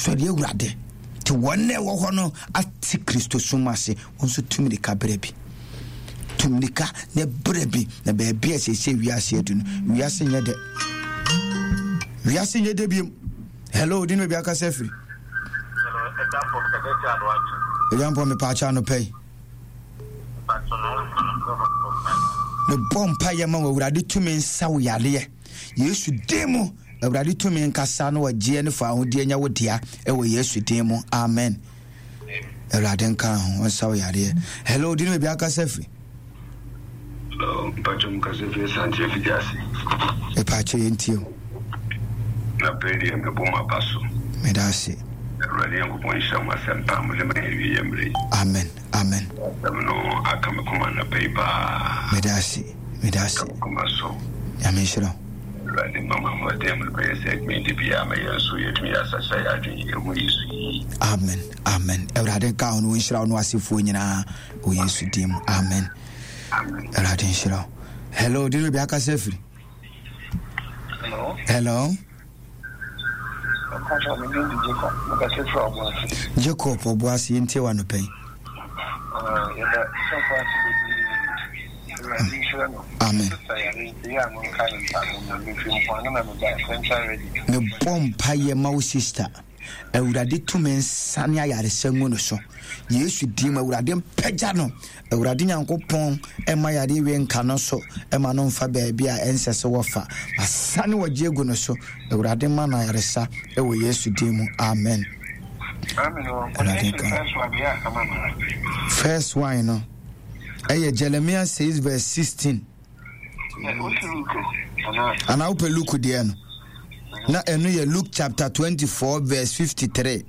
Sɔre Awurade. Nti wɔn na ɛwɔ hɔ no ate Kristosom ase, wɔn nso tu mirika berɛ bi. Tu mirika na berɛ bi, na baabi a seesei wiase adu no, wiase nyɛ dɛ. Wiase nyɛ dɛ biom. Hello, di ne baabi akasa afiri. Ɛda mpɔ mepaakyɛ anɔpa yi. Mebɔ mpa yɛ ma wɔ Awurade tumi nsa wo yareɛ. Yesu din mu Awurade tumi nkasa na ɔgyeɛ ne fawohodie nyɛ wo dea ɛwɔ Yesu din mu amen. Awurade nka ho ɔnsa wo yareɛ. Hello, di ne baabi akasa firi. Hello, mpakyɛ mu kasa firi Asante afidi ase. Mepakyɛ yɛn tie o. Na pɛ deɛ mɛbɔ mo aba so. Meda ase. Awurade Nyankopɔn nhyira mo asɛmpa a mode ma yɛn awie yɛ mmerɛ yi. Amen. Amen. Asɛm no aka me koma anɔpa yi paa. Meda ase. Meda ase. Aka me koma so. Nyame nhyira wo. Awurade mma mo ahoɔden a mode bɛyɛ sɛ adwuma yi da biara ma yɛn nso yɛatumi yɛ asakyera yɛn adwene yɛhu Yesu yie. Amen. Amen. Awurade nka ho no nhyira wo no asefoɔ nyinaa wɔ Yesu din mu. Amen. Amen. Awurade nhyira wo. Hello, di no bi akasa afiri. Hello. Hello. Jacob Ɔboase yɛntie wɔ anɔpa yi. Amen. Mebɔ mpaeɛ ma wo sister. Awurade tumi nsa ne ayaresa ngu no so. Yesu din mu Awurade mpagya no. Awurade Nyankopɔn mma yareɛ wei nka no so ma no mfa baabi a ɛnsɛ sɛ wɔfa. Masane wɔgye agu no so. Awurade ma no ayaresa wɔ Yesu din mu. Amen. Awurade nka. First one no ɛyɛ Jeremiah 6 verse 16. Anaa wopɛ Luke deɛ no? Na ɛno yɛ Luke chapter 24 verse 53.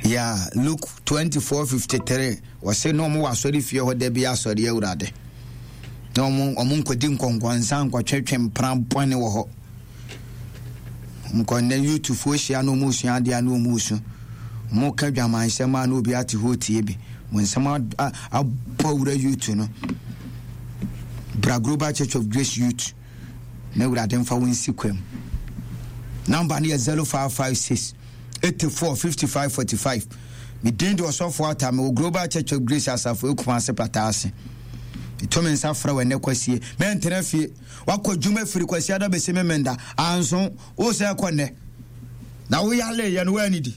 Yeah, Luke 24 53. Wɔse na wɔn wɔ asɔre fie hɔ da bi asɔre awurade. Na wɔn wɔn nkɔdi nkɔnkɔnsa nkɔtwetwe mpena bɔne wɔ hɔ. Nkɔ nnɛ youthfoɔ hyia na wɔn resua adeɛ a na wɔn resu. Wɔn ka dwamansɛm a na obi ate hɔ tie bi. Wɔn nsɛm abɔ wura youth no. Bra Global Church of Grace Youth. Na awurade mfa wo nsi kwam. Number no yɛ 0556 84 55 45. Me din de ɔsɔfo ata mewɔ Global Church of Grace asafo ekuma ase pata ase. Meto me nsa frɛ wɔ ɛnɛ kwasie. Mɛntena fie. Wakɔ adwuma firi Kwasiada bɛsi Memenda anso wo sɛ kɔ nnɛ. Na woyaleeɛ no woanidi.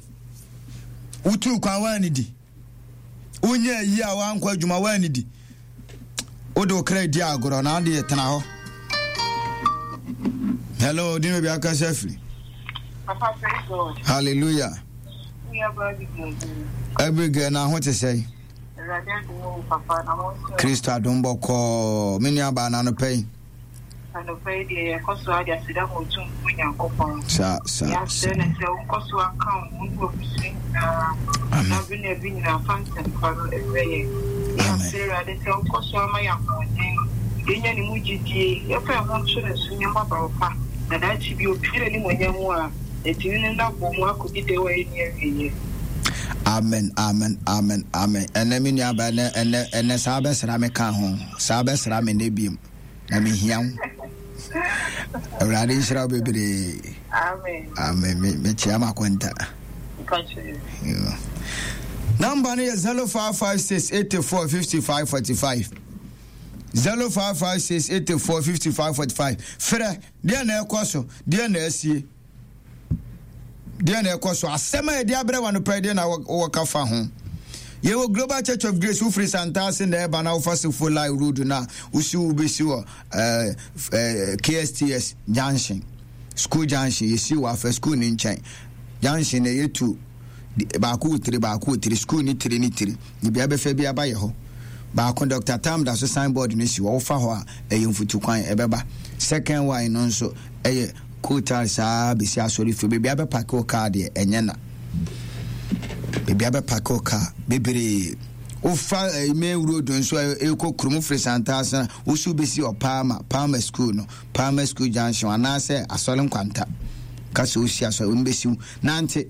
Wotuu kwan woanidi. Wonyɛ ayi a woankɔ adwuma woanidi. Wode wo kra di agorɔ na adeɛ tena hɔ. Hello, di baabi akasa firi. Hallelujah. Abigail na ho te sɛ. Kristo adom bɔkɔɔ me nua baa no anɔpa yi. Anɔpa yi deɛ yɛkɔ so ade aseda ma Otumfoɔ Nyankopɔn. Sa sa sa. Yɛasrɛ no sɛ wonkɔ so anka wo ho ne w'abusua nyinaa. Amen. Na bere na bere nyinaa fa nsɛmpa no mmerɛ yɛn. Yɛasrɛ Awurade sɛ wonkɔ so ama yɛn ahoɔden, yɛnya ne mu gyidie, yɛmfa yɛn ho nto ne so nyɛ mmabaawa pa, na daakye bi opue n'animuonyam mu a, Yɛtumi ne no abɔ mu akɔdi dɛw a ɛnni awieɛ. Amen amen amen amen ɛnɛ me nua ba ɛnɛ ɛnɛ ɛnɛ saa bɛsra me ka ho saa bɛsra me nɛ biem na mehia wo awurade nhyira wo bebree amen amen mekyea makonta namba no yɛ 0556 84 55 45 0556 84 55 45 frɛ Deɛ na ɛkɔ so? Deɛ na asie? Deɛ na ɛkɔ so? Asɛm a yɛde abrɛ wa no pɛ deɛ na wɔka fa ho. Yɛwɔ Global Church of Grace wofiri Santase na ɛba na wofa Sefo Lai Road no a wosi wobɛsi wɔ eh, eh, KSTS Junction school junction yɛsi wɔ afa school no nkyɛn junction na yɛtu baako wɔ tiri baako wɔ tiri school ne tiri ne tiri Ne bea bɛfa bi aba yɛ hɔ. Baako Doctor Tam da so sign board no si hɔ, wofa hɔ a ɛyɛ mfutu kwan ɛbɛba. Second one no nso ɛyɛ coal tar saa bɛsi asɔre fie. Baabi abɛpake wo car deɛ ɛnyɛ na. Baabi abɛpake wo car bebree. Wofa eh, main road nso ɛkɔ kurom firi Santase na wosi wobɛsi wɔ Palma, Palma school no, Palma school junction anaasɛ asɔre nkwanta. Ka sɛ wosi asɔre, wɔn bɛsi wo. Nante.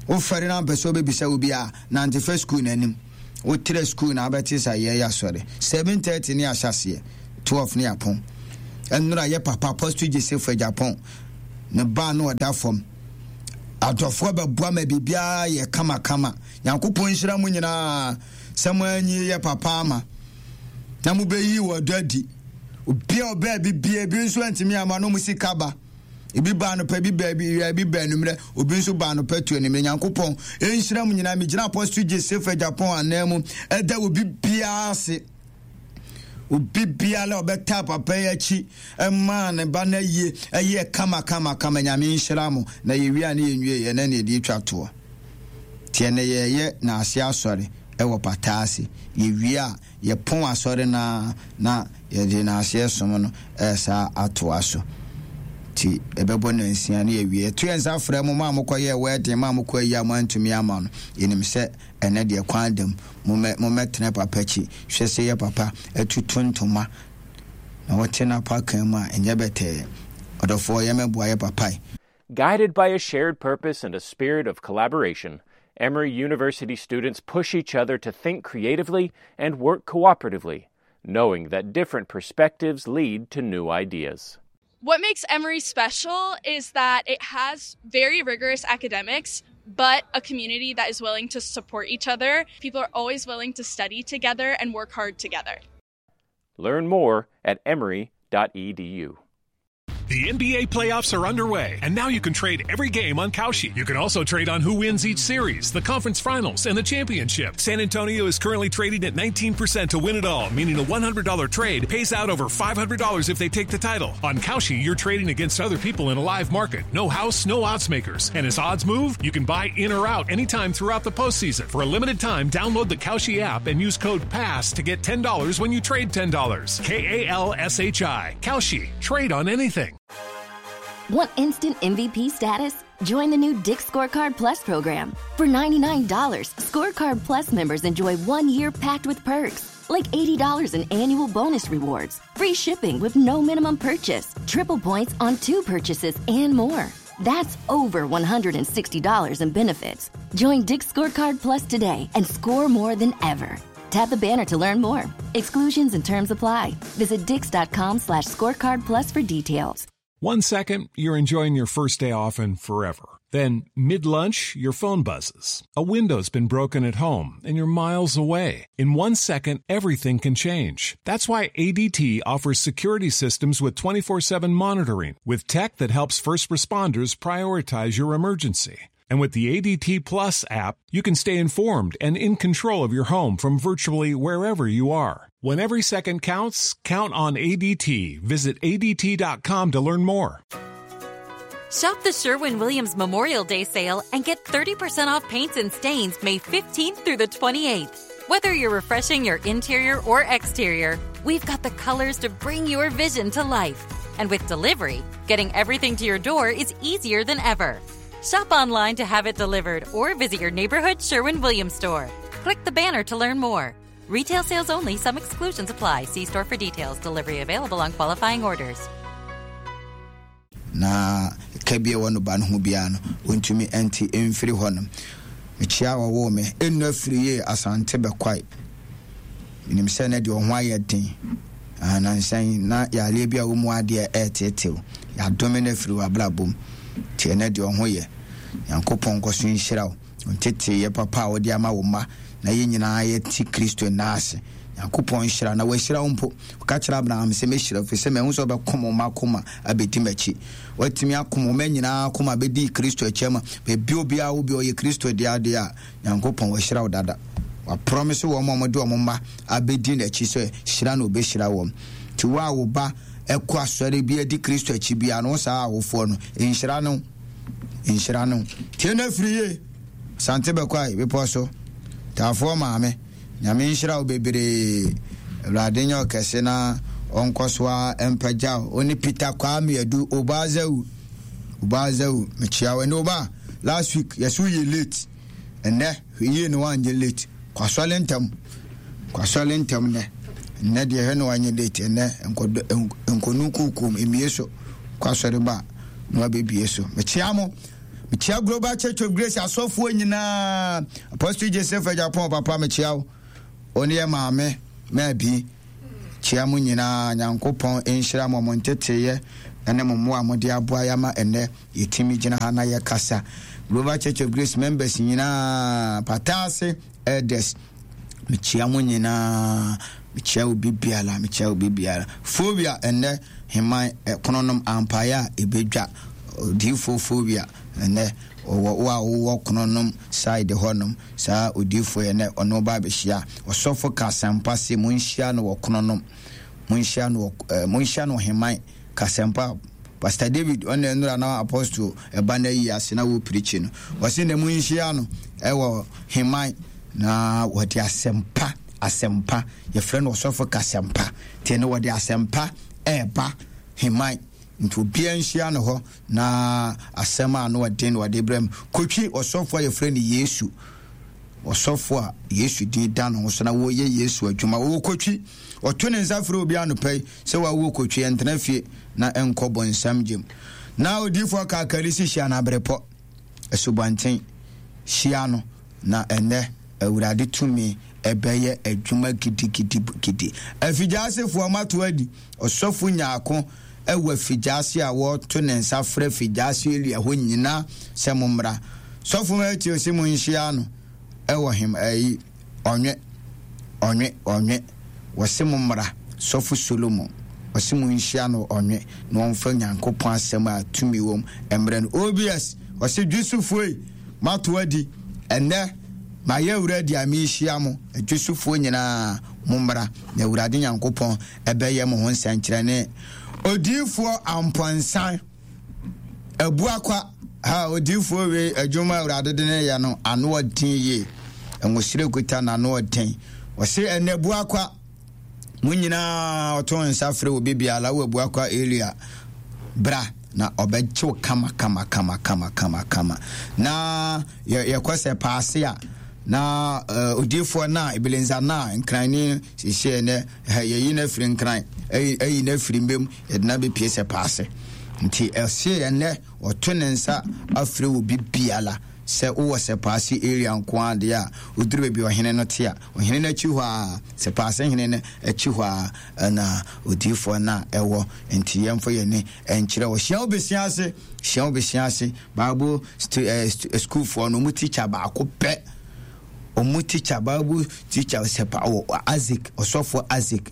Wofɛre na mpɛ sɛ wobɛbisa obi a Nante fa sukuu no anim. Wotra sukuu na abɛte sɛ yɛyɛ asɔre. 7:30 ne ahyɛaseɛ, 12 ne apɔn. Ɛnora yɛ papa Apostle Joseph Agyapong ne ba no ɔda fam. Adɔfoɔ bɛboa ma biribiara yɛ kamakama. Nyankopɔn nhyira mo nyinaa sɛ mo anyi yɛ papa ama na mobɛyi wɔ dɔ adi. Obi a ɔbaa bi bia ebi nso antumi ama no mo sika ba. Ebi ba anɔpa, ebi ba awia, ebi ba anwummerɛ, obi nso ba anɔpa tu anwummerɛ. Nyankopɔn nhyira mo nyinaa. Megyina Apostle Joseph Agyapong anan mu ɛda obi biara ase. Obi biara a ɔbɛtaa papa yi akyi maa ne ba no ayie ɛyɛ kama kama kama. Nyame nhyira mo. Na yɛwie a ne yɛnwie yɛ na ne yɛde atwa toɔ. Nti ɛnɛ yɛyɛ n'ase asɔre ɛwɔ pata ase. Yɛwie a yɛpɔn asɔre no ara na yɛde n'aseɛ som no ɛresa atoa so. Nti ɛbɛbɔ nansia ne yɛwie. Yɛto yɛn nsa frɛ mo, mo a mokɔyɛɛ wedding, mo a mokɔ ayi a moantumi ama no. Yɛnim sɛ ɛnɛ deɛ kwan da mu. Mommɛ, mommɛtena papa akyi. Hwɛ sɛ yɛ papa atutu ntoma na wɔte n'apakan mu a, ɛnyɛ bɛtɛɛ. Ɔdɔfoɔ, yɛmmɛboa yɛ papa yi. Guided by a shared purpose and a spirit of collaboration, Emory University students push each other to think creatively and work cooperatively, knowing that different perspectives lead to new ideas. What makes Emory special is that it has very rigorous academics, but a community that is willing to support each other. People are always willing to study together and work hard together. Learn more at emory.edu. The NBA playoffs are underway, and now you can trade every game on Kalshi. You can also trade on who wins each series, the conference finals, and the championship. San Antonio is currently trading at 19% to win it all, meaning a $100 trade pays out over $500 if they take the title. On Kalshi, you're trading against other people in a live market. No house, no odds makers. And as odds move, you can buy in or out anytime throughout the postseason. For a limited time, download the Kalshi app and use code PASS to get $10 when you trade $10. K A L S H I. Kalshi. Trade on anything. Want instant MVP status? Join the new Dick's Scorecard Plus program. For $99, Scorecard Plus members enjoy 1 year packed with perks, like $80 in annual bonus rewards, free shipping with no minimum purchase, triple points on 2 purchases, and more. That's over $160 in benefits. Join Dick's Scorecard Plus today and score more than ever. Tap the banner to learn more. Exclusions and terms apply. Visit dicks.com/scorecard plus for details. 1 second, you're enjoying your first day off and forever. Then, mid-lunch, your phone buzzes. A window's been broken at home, and you're miles away. In 1 second, everything can change. That's why ADT offers security systems with 24/7 monitoring, with tech that helps first responders prioritize your emergency. And with the ADT Plus app, you can stay informed and in control of your home from virtually wherever you are. When every second counts, count on ADT. Visit ADT.com to learn more. Shop the Sherwin-Williams Memorial Day sale and get 30% off paints and stains May 15th through the 28th. Whether you're refreshing your interior or exterior, we've got the colors to bring your vision to life. And with delivery, getting everything to your door is easier than ever. Shop online to have it delivered or visit your neighborhood Sherwin-Williams store. Click the banner to learn more. Retail sales only. Some exclusions apply. See store for details. Delivery available on qualifying orders. Na ka bi a ɛwɔ no ba no ho biara no, ɔntumi nte mfiri hɔnom. Mekyea wɔwoo me ɛnnu afiri yie Asante bɛkwae. Menim sɛ ne deɛ ɔho ayɛ den. Nansa yi na yareɛ bi a wɔ mu adeɛ ɛreteetew. Yɛadome no afiri w'abrabɔ mu. Nti ɛnɛ deɛ ɔho yɛ. Nyankopɔn nkɔ so nhyira wo. Nteteeɛ papa a wode ama wo mma na yɛn nyinaa yɛte Kristo nan ase. Nyankopɔn nhyira na wahyira wo mpo. Ɔka kyerɛ Abraham sɛ mɛhyira wo ɛfiri sɛ mahu sɛ wobɛkom wo mma akoma abɛdi m'akyi. Woatumi akom wo mma nyinaa akoma abɛdi Kristo akyi ama baabi obiara wo bi ɔyɛ Kristo dea deɛ a, Nyankopɔn wahyira wo dada. Waprɔmise wɔn a wɔde wɔn mma abɛdi n'akyi sɛ hyira na ɔbɛhyira wɔn. Nti wo a wo ba ɛkɔ asɔre bi adi Kristo akyi biara no, wo saa awofoɔ no, nhyira no. Nhyira no. Tie no afiri yie. Asante Bɛkwae bepɔ so. Taafoɔ maame, Nyame nhyira wo bebree. Awurade nyɛ ɔkɛse na ɔnkɔ so ara mpagya wo. Wo ne Peter Kwame Adu, Obazawu. Obazawu, mekyia wo. Ɛnɛ Oba, last week yɛsɛ woyɛ late. Ɛnɛ, hwɛ yie na woanyɛ late. Kɔ asɔre ntɛm. Kɔ asɔre ntɛm nnɛ. Nnɛ deɛ hwɛ na woanyɛ late. Ɛnɛ, nkɔnu kukuom, mmie so. Kɔ asɔre ba na wabɛbie so. Mekyia mo. Mekyia Global Church of Grace asɔfoɔ nyinaa. Apostle Joseph Agyapong papa mekyia wo. Wo ne yɛ maame Maabi. Kyia mo nyinaa. Nyankopɔn nhyira mo mo nteteyɛ. ne mo mmoa a mode aboa yɛ ama ɛnnɛ yɛtumi gyina ha na yɛkasa. Global Church of Grace members nyinaa, Pataase elders, mekyia mo nyinaa, mekyia obi biara, mekyia obi biara. Phobia ɛnnɛ heman ɛkononom ampaeɛ a ɛbɛdwa, odiyifoɔ phobia ɛnnɛ ɔwɔ wo a wowɔ kononom side hɔnom, saa odiyifoɔ yɛ nɛ ɔno ba abɛhyia. Ɔsɔfo ka asɛmpa se monhyia no wɔ kononom. Monhyia no wɔ eh, monhyia no ɔheman kasɛmpa. Pastor David ɔna nnura na apostle ɛba na yi ase na wɔ pirikyi no. Ɔse na monhyia no ɛwɔ heman na wɔde asɛmpa asɛmpa yɛfrɛ no ɔsɔfo kasɛmpa nti no wɔde asɛmpa ɛɛba heman nti obiara nhyia no hɔ na asɛm a na ɔden na ɔde brɛ mu kotwi ɔsɔfo a yɛfrɛ no Yesu ɔsɔfo a Yesu din da ne ho so na wɔyɛ Yesu adwuma wɔwɔ kotwi Ɔto ne nsa frɛ obi anɔpa yi sɛ wawu kotwe ɛntena fie na ɛnkɔ bonsam gyem. Na odiyifoɔ Kakari si hyia no abrepɔ, asubɔnten, hyia no na ɛnnɛ Awurade tumi ɛbɛyɛ adwuma gidigidigidi. Afigyasefoɔ moato adi, ɔsɔfo Nyarko ɛwɔ afigyase a wɔto ne nsa frɛ figyase area hɔ nyina sɛ mommra. Sɔfo Matthew se monhyia no ɛwɔ hem ɛyi. Ɔnwe, ɔnwe, ɔnwe, wɔse mo mmra, Sɔfo Solomon, ɔse mo nhyia no ɔnwe na ɔmfa Nyankopɔn asɛm a tumi wom mmrɛ no. OBS, ɔse Dwesofoɔ ei, moato adi, ɛnnɛ mayɛ awuradi a merehyia mo, Dwesofoɔ nyinaa mo mmra, na Awurade Nyankopɔn ɛbɛyɛ mo ho nsɛnkyerɛnne. Odiyifoɔ Ampɔnsan. Abuakwa, ha odiyifoɔ wei adwuma a Awurade de ne yɛ no ano ɔden yie. Nwosere kuta n'ano ɔden. Ɔse ɛnɛ Abuakwa, mo nyinaa ɔto nsa frɛ obi biara wɔ Abuakwa area bra na ɔbɛgye wo kama kama kama kama kama kama. Na yɛkɔ sɛ paase a na uh, odiyifoɔ no a ebelenza no a nkranni siesie nɛ yɛyi no afiri nkran ayi no afiri mbem Yɛde no abɛpie sɛ paase. Nti ɛse ɛnnɛ ɔto ne nsa afrɛ obi biara sɛ wowɔ Sɛpaase area nko ara deɛ a, woduru baabi ɔhene no te a, ɔhene no akyi hɔ ara, Sɛpaase hene no akyi hɔ ara ɛna odiyifoɔ no a ɛwɔ. Nti yɛmfa yɛn ani nkyerɛ hɔ. Hyia wo besia ase, hyia wo besia ase. Bible stu, eh, stu, eh, schoolfoɔ no, wɔn teacher baako pɛ. Wɔn teacher, Bible teacher Sɛpa, wɔ Isaac, ɔsɔfoɔ Isaac.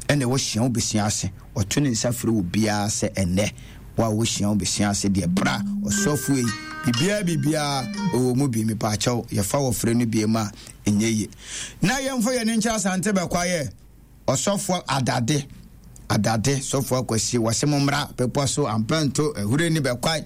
Ɛna ɛwɔ hyia wo besia ase. Ɔto ne nsa frɛ obiara sɛ ɛnnɛ, wo a wohyia wo besia ase deɛ bra ɔsɔfo ei, biribiara biribiara ɔwɔ mu bi, mepaakyɛw yɛfa wɔ frɛ no biem a ɛnyɛ yie. Na yɛmfa yɛn ani nkyerɛ Asante Bɛkwayɛ ɔsɔfoɔ Adade, Adade sɔfoɔ Akwasi, wɔse mo mmra bepɔ so Ampɛnto Ahureni Bɛkwae,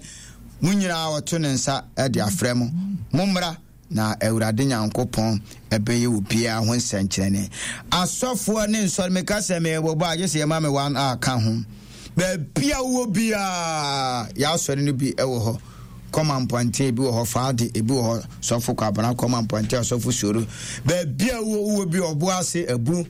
mo nyinaa ɔto ne nsa de afrɛ mo, mo mmra. Na Awurade Nyankopɔn bɛyɛ obiara ho nsɛnkyerɛnne. Asɔfoɔ ne nsɔre, meka sɛ merebobɔ a, gye sɛ yɛma me one a ka ho. Baabi a wowɔ biara, yɛasɔre no bi wɔ hɔ. Kɔma mpɔnten, ebi wɔ hɔ, Faade, ebi wɔ hɔ, Sɔfo Kwabena, Kɔma mpɔnten, Ɔsɔfo Soro. Baabi a wowɔ wowɔ bi, ɔbo ase, abu.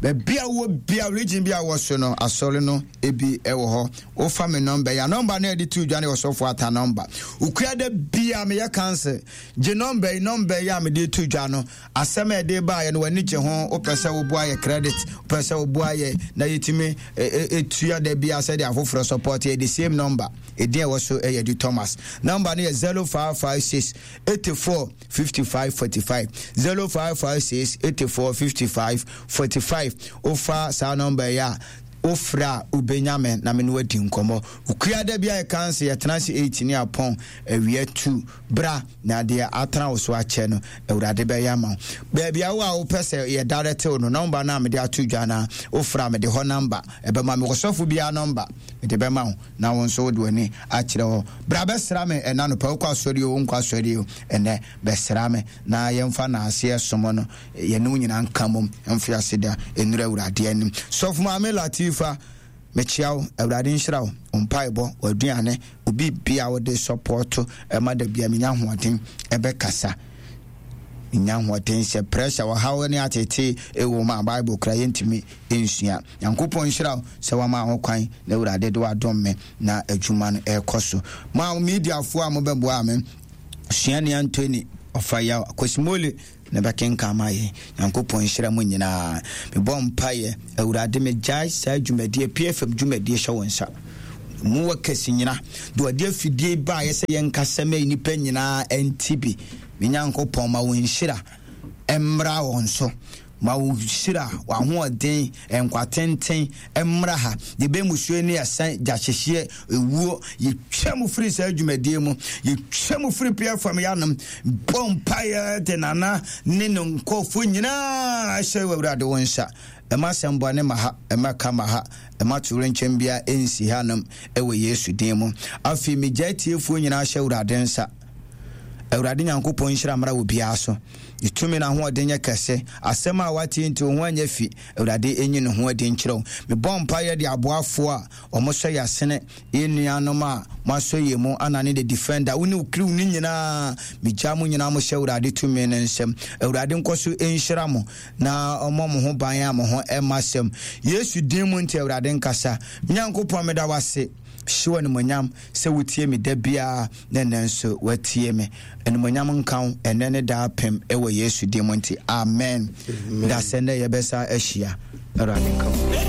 Baabi a wowɔ biara, region bi a wɔ so no, asɔre no ebi wɔ hɔ. Wofa me nɔmba yi a, nɔmba no a yɛde to dwa no yɛ Ɔsɔfo Atta nɔmba. Okua da biara meyɛ council. Gye nɔmba yi, nɔmba yi a mede to dwa no, asɛm a yɛde baeɛ no w'ani gye ho, wopɛ sɛ woboa yɛ credit, wopɛ sɛ woboa yɛ na yɛtumi tua da biara sɛdeɛ afoforɔ support yɛ, the same number. Edin a ɛwɔ so yɛ Edu Thomas. Nɔmba no yɛ 0556 84 55 45 0556 84 55 45. Wofa saa nɔmba yi a, wofrɛ a wobɛnya me na me ne wadi nkɔmmɔ. Okua da bi a yɛka nse yɛtena ase 8 ne apɔn awia 2. Bra na deɛ atena wo so akyɛ no Awurade bɛyɛ ama wo. Baabi a wo a wopɛ sɛ yɛ direct wo no, nɔmba no a mede ato dwa no a wofrɛ a mede hɔ nɔmba ɛbɛma me. Ɔsɔfo biara nɔmba mede bɛma wo na wo nso wode w'ani akyerɛ hɔ. Bra bɛsra me ɛna anɔpa, wokɔ asɔre o wonkɔ asɔre o, ɛnɛ bɛsra me na yɛmfa naaseɛ som no yɛne wo nyinaa nka mmom mfe ase da nnuru Awurade anim. Sɔfo Maame Latifa, mekyea wo, Awurade nhyira wo, wo mpaebɔ, w'aduane, obi bia wode sɔpɔto ɛma da bia menya ahoɔden ɛbɛkasa. Menya ahoɔden sɛ pressure, ɔhaw ne atete ɛwɔ mu a Bible kora yɛntumi nsua. Nyankopɔn nhyira wo sɛ wama ho kwan na Awurade de wadom me na adwuma no ɛrekɔ so. Mo a mediafoɔ a mobɛboa me, Suani Anthony Ɔfayaw, Akosimole na bɛkenkan ma yɛn. Nyankopɔn nhyira mo nyinaa. Mebɔ mpaeɛ, Awurade megyae saa dwumadie, PFM dwumadie hyɛ wo nsa. Mu wɔ kɛse nyina. De ɔde afidie baeɛ sɛ yɛnkasa ma nnipa nyinaa nte bi. Me Nyankopɔn, ma wo nhyira mmra wɔn so. Ma wo nhyira, w'ahoɔden, nkwa tenten mmra ha. Yɛbɛ mmusuo ne ɛsɛn, gyahyehyeɛ, ewuo. Yɛtwa mu firi saa dwumadie mu. Yɛtwa mu firi PFM yanom. Bɔ mpaeɛ de Nana ne ne nkurɔfoɔ nyinaa hyɛ w'Awurade wo nsa. Mma asɛm bɔne mma ha, mma ɛka mma ha, mma towerɛnkyɛm biara nsi hanom wɔ Yesu din mu. Afei megyae atiefoɔ nyinaa hyɛ Awurade nsa. Awurade Nyankopɔn nhyira mmra obiara so. Ne tumi na ahoɔden nyɛ kɛse. Asɛm a wate nti wo ho anyɛ fi. Awurade nyi ne ho adi nkyerɛ wo. Mebɔ mpaeɛ de aboafoɔ a wɔsɔ yɛn asene, yɛn nuanom a moasɔ yɛn mu, Anna ne the defender, wo ne wo crew no nyinaa, megyaa mo nyinaa mo hyɛ Awurade tumi no nsam. Awurade nkɔ so nhyira mo na ɔmmɔ mo ho ban a mo ho mma asɛm. Yesu din mu nti Awurade nkasa. Me Nyankopɔn meda wo ase. Hyɛ wo animuonyam sɛ wotie me da biara na ɛnnɛ nso woatie me. Animuonyam nka wo ɛnnɛ ne daa pem wɔ Yesu din mu nti amen. Da sɛ nnɛ yɛbɛsa ahyia. Awurade nka wo.